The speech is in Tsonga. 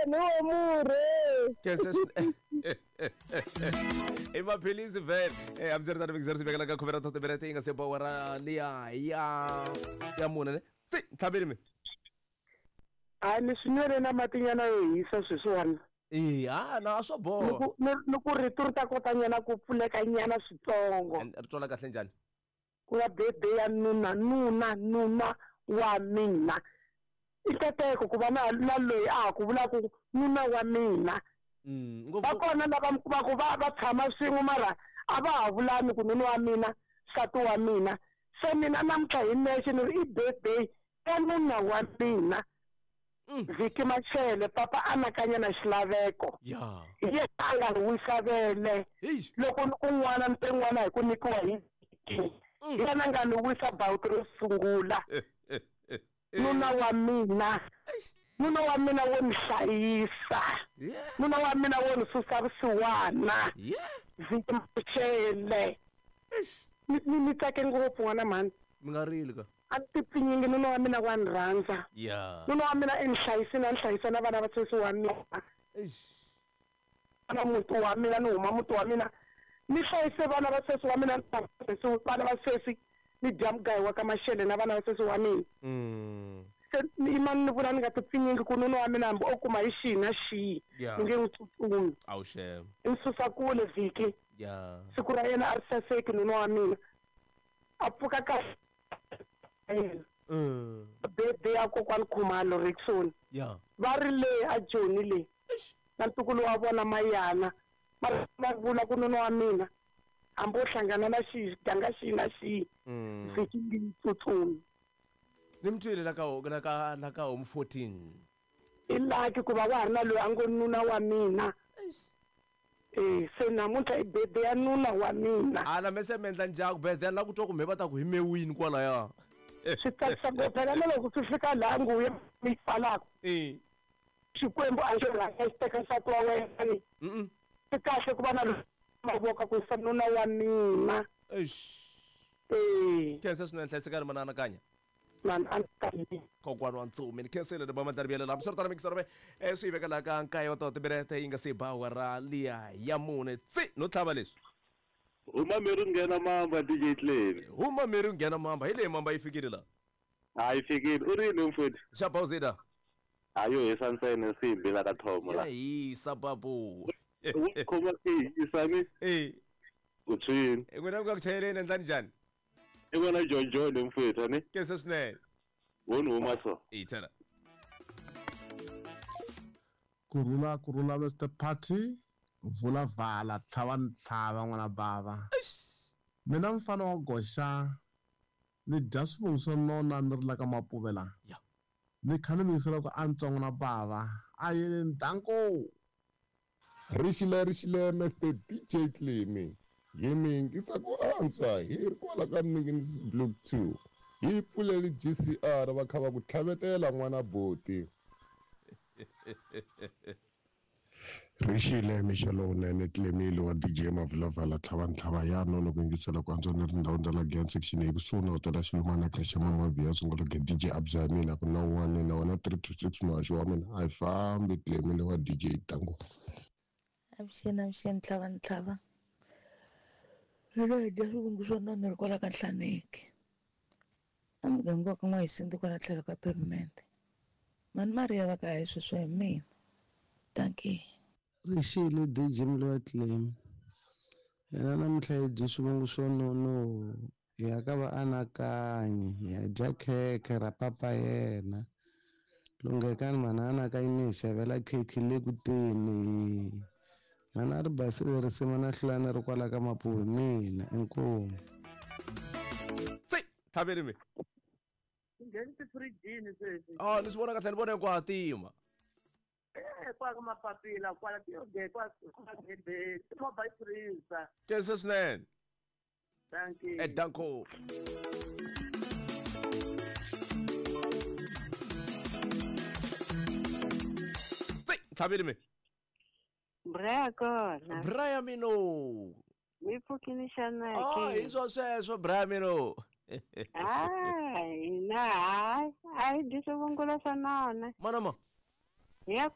Ni wo murhi. Khensa i maphilisi vhele. Hambiswiritano mikizero swi vekela ka khume ra timinete yi nga se ba awara liya ya mune ne. Tsi, ntlhaveli mi. A ni swi nwele na matinyana yo hisa sweswiwani. Eya, na swo boha. Ni ku rito ri ta kota nyana ku pfuleka nyana switsongo. Ri twala kahle njhani? Ku nga birthday ya nuna, nuna, nuna wa mina. I nkateko ku va na na loyi a ha ku vulaka ku nuna wa mina. Va kona lava mi kumaka va tshama swin'we mara a va ha vulani ku nuna wa mina, nsati wa mina. Se mina namuntlha hi nexe ni ri i birthday ya nuna wa mina. Vhiki Machele, papa anakanya na xilaveko. Hi yena a nga ni wisa vele. Loko ni ku n'wana ni te n'wana hi ku nyikiwa hi Vhiki. Hi yena a nga ni wisa bawuti ro sungula. Nuna wa mina. Nuna wa mina wo ni hlayisa. Nuna wa mina wo ni susa vusiwana. Vhiki Machele. Ni tsake ngopfu n'wana mhani. Mi nga rili ka. A ni ti pfinyingi, nuna wa mina wa ni rhandza. Nuna wa mina i ni hlayisile, a ni hlayisa na vana va sesi wa mina. Na muti wa mina, ni huma muti wa mina, ni hlayise vana va sesi wa mina, vana va sesi, ni dya mugayo wa ka Mashele na vana va sesi wa mina. Se ni yima ni vula ni nga ti pfinyingi ku nuna wa mina hambi o kuma hi xihi na xihi, ni nge n'wi tsutsumi. I ni susa kule vhiki. Siku ra yena a ri saseki nuna wa mina. A pfuka kahle yena. Birthday ya kokwani Khumalo Rickson. Va ri le a Joni le. Na ntukulu wa vona Mayana. Va va vula ku nuna wa mina hambi o hlangana na xihi xiganga xihi na xihi vhiki nge yi tsutsumi. Ni mi twile la ka la ka la ka home 14. I lucky ku va wa ha ri na loyi a ngo nuna wa mina. Se namuntlha i birthday ya nuna wa mina. Ala me se mi endla ndyangu birthday la ku twa ku me va ta ku hi mewini kwalaya. Swi tsakisa ngopfu phela na loko swi fika laha nguvu ya yi pfalaka. Xikwembu a xi rhanga xi teka nsati wa wena ni. Swi kahle ku va na mavoko ku yisa nuna wa mina. Khensa swinene hlayisekani mana anakanya. Kokwana wa ntsumi ni khensile ni ba mandlari byelela hambi swi ri tano mikisarove swi yi veka laha ka nkaye wa timinete yi nga se ba awara liya ya mune tsi no tlhava leswi. Huma miri u nghena mamba DJ Clevy. Huma miri u nghena mamba hi leyi mamba yi fikile la. Ha yi fikile u ri yini mfowethu? Xa Bawuzida. Ha yo hisa ntsena nsimbi la ka Thomo la. Ya hisa babu. U khoma i hisa ni? U tshwini. N'wina mi nga ku chayeleni endlani njhani? I vona John John mfowethu ni? Khensa swinene. Wo ni huma so. Ithela. Kurhula kurhula Mister Party vula vala tlhava ni tlhava n'wana bava. Mina mfana wa goxa ni dya swivungu swo nona ni ri la ka Mapuve la. Ni kha ni mi yingisela ku antswa n'wana bava a yini danko. Rixile rixile Mister DJ Clemy hi mi yingisa ku antswa hi ri kwala ka Mninginisi Block 2 hi pfuleli GCR va kha va ku tlhavetela n'wana boti. Rixile mixo lowunene Clemy wa DJ Mavulavala tlhava ntlhava ya nono ku yingisela ku antswa ni ri ndhawini ta la Giyani section hi kusuhi na hotela Xilumana creche Mama Vhiya sungula ge DJ Abza ya mina ku na un'wana na wena 3 to 6 muhaxi wa mina a yi fambi Clemy wa DJ Tango. Avuxeni avuxeni tlhava ntlhava mina hi dya swivungu swo nona ri kwala ka Nhlaneki emuganga wa ka N'wahisindi kwala tlhelo ka pavement mani Mariya va ka hi sweswo hi mina dankie. Rixile DJ Mliwa Clem yena namuntlha hi dye swivungu swo nono hi ya ka vaanakanyi hi ya dya khekhe ra papa yena lunghekani mhana anakanyi mi hi xavela khekhe le ku teni mhana ri basile risimu na hlulani ri kwala ka Mapuve mina inkomu. Tsi tlhaveli mi. Ngheni tifirijini sweswi. Ah, ni swi vona kahle ni vona ku hatima. Kwala ka mapapila kwala ti kwa kwa gede ti-mobile freezer. Khensa swinene. Thank you. Danko. Tsi tlhaveli mi. Bra kona. Bra ya mino. Mi pfukini xana ke? Ah, hi swo sweswo bra mino. Hayi, na hayi, a hi dyi swivungulo swa nona. Mana ma. Hi ya